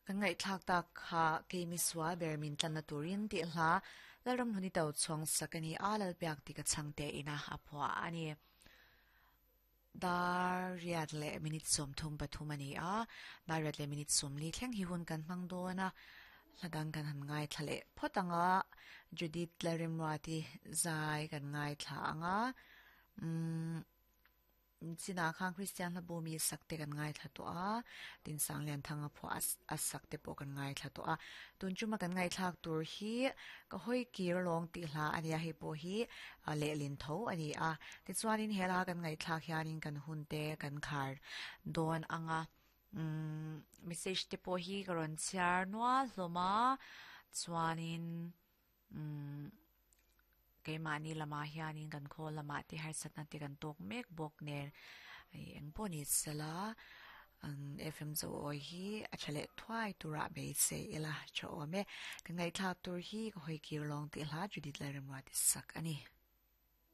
Kan ngaihthlak tak kha keimi sual ber min tlanna turin tih hla Lalramhluni Tochhawng sak a ni a, Lalpiak ti ka chhang te ina a phuah a ni. Dar riat leh minute 33 a ni a, dar riat leh minute 40 thleng hi hun kan hmang dawn a, hla dang kan han ngaithla leh phawt ang a, Judith Lalrimruati zai kan ngaithla ang a, umm. Chinah khan Kristian hla bu mi sak te kan ngaithla tawh a, tin Sanglianthanga phuah a sak te pawh kan ngaithla tawh a. Tun chuma kan ngaihthlak tur hi ka hawi kir lawng tih hla a nia, hei pawh hi lehlin tho a ni a. Tichuanin he hla kan ngaihthlak hianin kan hun te kan khar dawn ang a, umm message te pawh hi ka rawn chhiar nual hlawm a, chuanin umm. Keimahni lamah hianin kan khawl lamah te harsatna te kan tawk mek bawk nen eng pawh ni sela FM chu awi hi a tha leh thuai turah beisei ila tha awm e. Ka ngaihthlak tur hi ka hawi kir lawng tih hla Judith Lalremruati sak a ni.